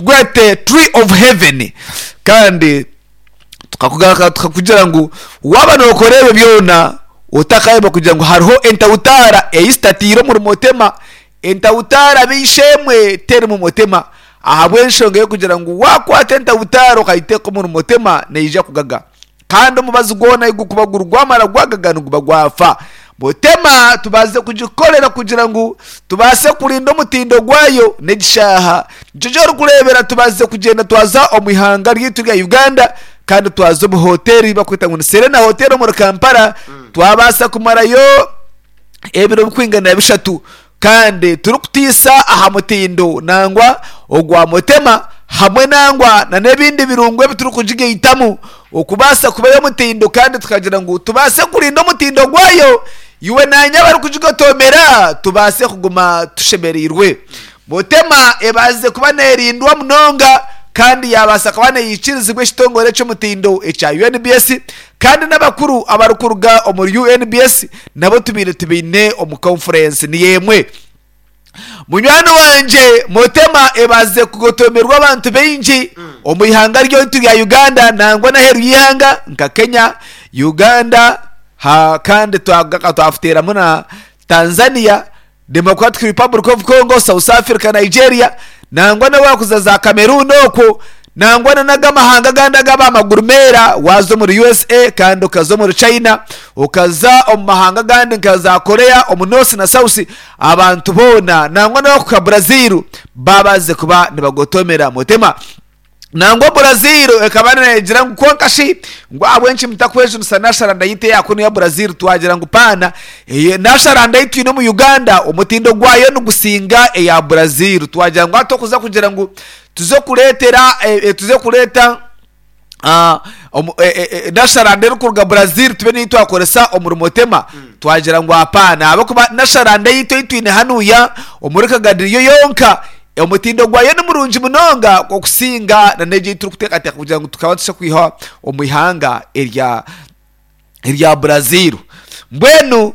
Tugwete Tree of Heaven kandi tukakugaruka tukakugira ngu waaba nookora ebyo byona otakayeba kugira ngu hariho entawutaara ei zitataire omuri motema. Entawutaara b'eishe-emwe terimu motema ahabw'enshonga y'okugira ngu waakwata entawutaara okagiteeka omuri motema neija kugaga. Kandi omubazi gwona ahu gurikuba guri gwamara gwagaga niguba gwafa. Mutema tubaase kugikorera kugira ngu tubaase kurinda omutindo gwayo n'egishaaha. Nikyo eki orikureebera tubaasize kugyenda twaza omu ihanga ryaitu rya Uganda kandi twaza omu hoteeri ei barikweta ngu ni Serena Hotel omuri Kampala twabaasa kumarayo ebiro birikwingana bishatu kandi turikutiisa aha mutindo nangwa ogwa Mutema hamwe nangwa na n'ebindi birungo ebi turikugigaitamu okubaasa kuba ey'omutindo kandi tukagira ngu tubaase kurinda omutindo gwayo iwe naanye abarikugigotoomera tubaase kuguma tushemereirwe. Mutema ebaasize kuba neerindwa munonga kandi yaabaasa kuba neyikirizibwa ekitongore eky'omutindo ekya UNBS Kandi n'abakuru abarikuruga omuri UNBS nabo tubaire tubaine omu conference niyo emwe. Munywani wangye Mutema ebaasize kugotomerwa abantu baingi omu ihanga ryaitu rya Uganda nangwa n'aheeru y'eihanga nka Kenya, Uganda ha kandi twafuteeramu na Tanzania. Democratic Republic of Congo, South Africa, Nigeria nangwa n'owakuza za Cameroon okwo nangwa na n'agamahanga agandi agaba amaguru meera waaza omuri USA kandi okaza omuri China okaza omu mahanga agandi nka za Korea omu North na South abantu boona nangwa n'owakuhika Brazil baabaasize kuba nibagotomera Mutema. Nangwa Brazil ekaba neegira ngu kwonka shi ngu ahabw'enki mutakwejunisa nasharanda yaitu eya kunu ya Brazil twagira ngu paana nasharanda ei twine omu Uganda omutindo gwayo nigusinga eya Brazil twagira ngu hati okuza kugira ngu tuze kureetera tuze kureeta nasharanda erikuruga Brazil tube niyo twakoresa omuri Motema twagira ngu apaana ahabw'okuba nasharanda eyaitu ei twine hanuya omuri Kagadi yo yonka Omutindo gwayo ni murungi munonga okusinga na n'egyo ei turikuteekateeka kugira ngu tukaba tuza kwiha omu ihanga erya erya Brazil. Mbwenu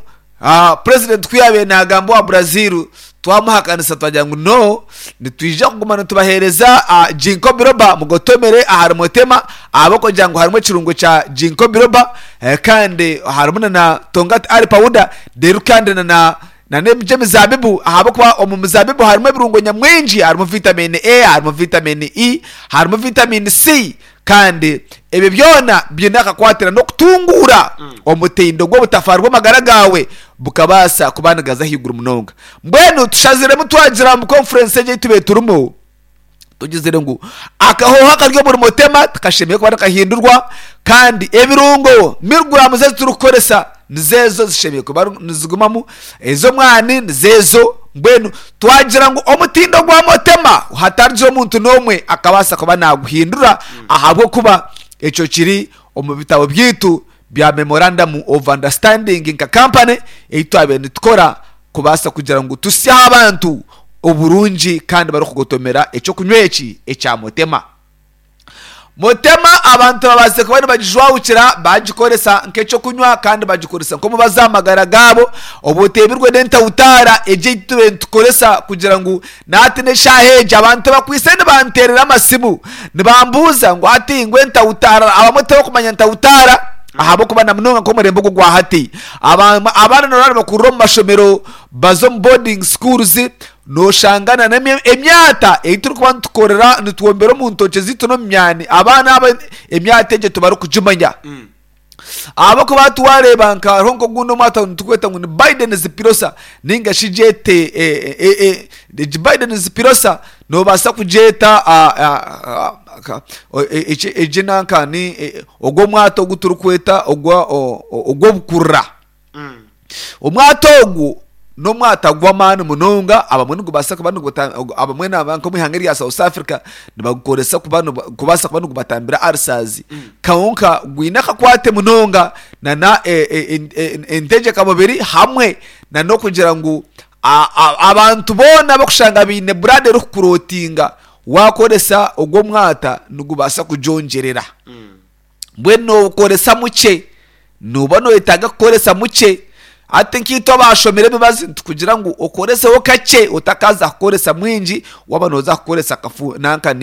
purezidenti ku yaabaire naagamba owa Brazil, twamuhakanisa twagira ngu no, nitwija kuguma nitubaheereza Ginkgo biloba mugotomere ahari Motema ahabw'okugira ngu harimu ekirungo kya Ginkgo biloba kandi harimu na na Tongkat Ali powder reero kandi na na Na n'eby'emizaabibu, ahabw'okuba omu mizaabibu harimu ebirungo nyamwingi, harimu vitamini A, harimu vitamini E, harimu vitamini C, kandi ebyo byona biine akakwatira n'okutunguura omutindo gw'obutafaari bw'amagara gaawe bukabaasa kuba nigaza ahaiguru munonga. Mbwenu tushaziremu twagira omu konfurensi egi ei tubaire turimu, Tugizire ngu akahooho akari omuri Motema tikashemereire kuba nikahindurwa kandi ebirungo miriguramu ezi turikukoresa nizo ezo zishemereire kuba nizigumamu, ez'omwani nizo ezo. Mbwenu twagira ngu omutindo gwa Motema hatarigira omuntu n'omwe akabaasa kuba naaguhindura ahabw'okuba ekyo kiri omu bitabo byaitu bya Memorandum of Understanding nka kampani ei twabaire nitukora kubaasa kugira ngu tusyeho abantu oburungi kandi barikugotomera eky'okunywa eki ekya Motema. Motema abantu babaasize kuba nibagijwahukira bagikoresa nk'eky'okunywa kandi bagikoresa nk'omubazi aha magara gaabo obwo oteebirwe n'entawutaara egi ei tubaire nitukoresa kugira ngu nahati n'eshaaha egi abantu bakwaitse nibanteerera amasimu nibambuuza ngu hati ngu entawutaara abamwe tibarikumanya ntawutaara ahabw'okuba na munonga nk'omurembe ogu ogwa hati abaana noreeba nibakurira omu mashomero baza omu boarding schools noshanga na n'emyata ei turikuba nitukorera nitwombera omu ntookye zaitu n'omu myani abaana aba emyata egyo tibarikugimanya ahabw'okuba hati wareeba nka hariho nk'ogundi omwata nitukweta ngu ni Biden's pirosa ninga shi gyete egi Biden's pirosa nobaasa kugyeta egi nanka ni Ogwo omwata ogu turikweta ogw'obukurura. Omwata ogu n'omwata gw'amaani munonga abamwe nigubaasa kuba abamwe nk'omu ihanga erya South Africa nibagukoresa kubaasa kuba nigubatambira ulcers kwonka gwine akakwate munonga nana entegyeka mubiri hamwe nana okugira ngu abantu boona abarikushanga baine blood erikukurotinga Waakoresa ogwo mwata nigubaasa kugyongyerera. Mbwenu nookoresa mukye, nooba nooyetaaga kukoresa mukye. Hati nkaitwe abaashomire emibazi nitukugira ngu okoreseho kakye otakaaza kukoresa mwingi waaba nooza kukoresa kafu nanka ni.